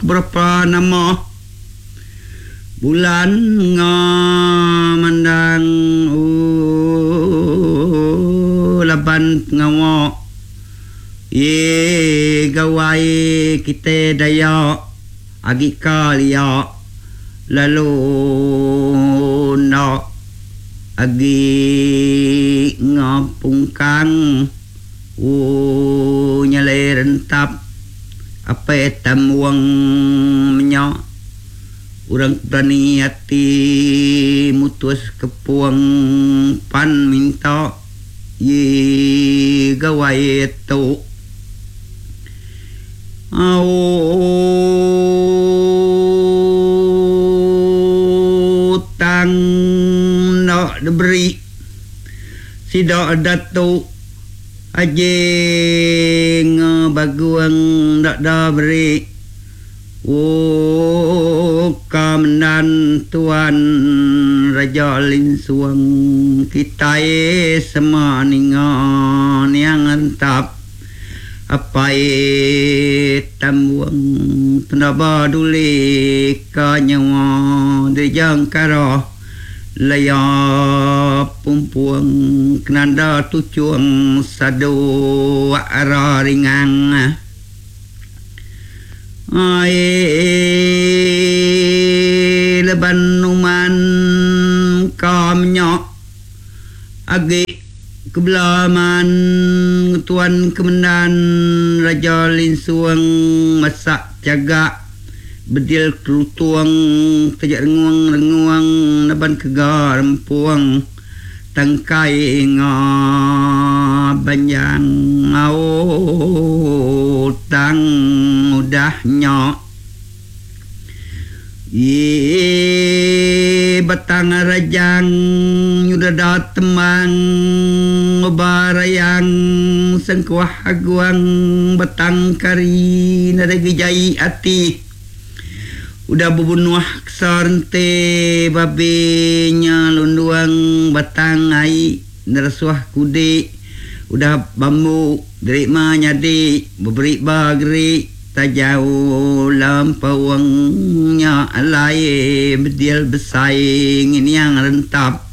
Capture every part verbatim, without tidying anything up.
Berapa nama bulan ngamandang oh laban pengawa ye gawai kita Dayak agi kalia lalu nak agi ngapungkang oh nyalai rentap apa tamuang menyak orang berani hati mutus kepuang pan minta ye gawai tu au tang nak diberi sidak datuk ajeng baguang nak dah beri oh kamendan tuan Raja Linsuang kita semua ninga niang entap apai tambuang tenaba duli ka nyawa dijang kara laya pumpuang kenanda tucuang sadu ara ringang ai leban numan kamnya agi kebelaman tuan kemendan Raja Linsuang masak jagak bedil kelutuang tajak renguang-renguang naban kegar rempuang tangkai nga banjang au tang udah nyok ye batang rajang nyudah temang barayang sengkuah aguang batang kari nadai gejai ati udah berbunuh kesarente babinya lunduang batang ai nerasuah kudik udah bambu derima nyadi beberi bagri tajau lampauangnya alai bedil besai nginiang rentap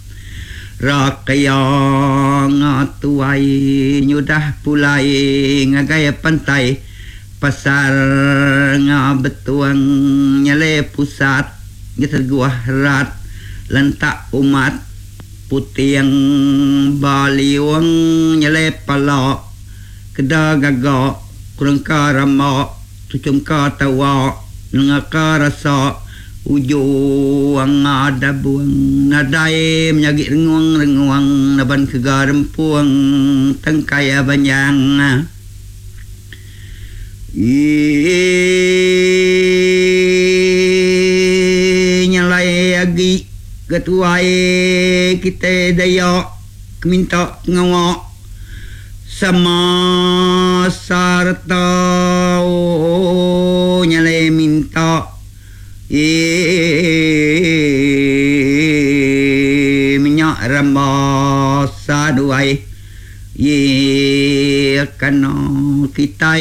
rakayang tuai nyudah pulai ngagai pantai pasar ngabetuang nyale pusat ngeterguah rat lentak umat putiang baliwang nyale palak keda gagak kurangka ramak tucungka tawa nengaka rasa ujuang ada buang nadai menyagi renguang-renguang naban kegarempuang tangkai banjang nyalai agi ketuai kita Dayak minta ngawak sama sarta oh, nyalai minta e minyak rambah saduai ye kena kita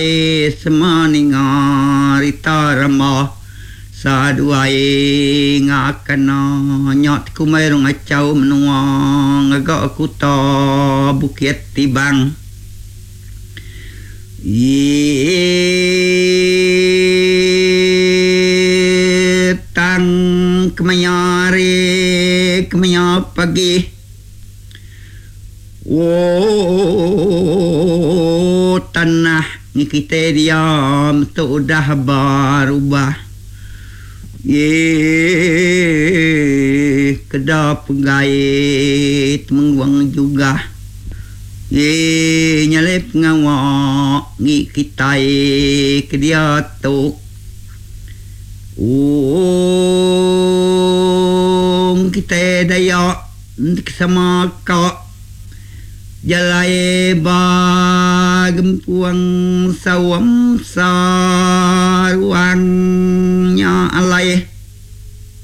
semua ninga rita ramah saduai ngakena nyot kumai rong acau menua ngagak kuta bukit tibang ye tang kemaya hari kemaya pagi oh tanah ni kita diam tu udah berubah ye kedah penggait mengguang juga ye nyalip ngawak ni kita ke dia tu oh kita Dayak sama kak jalai ba gempuang sawam saruang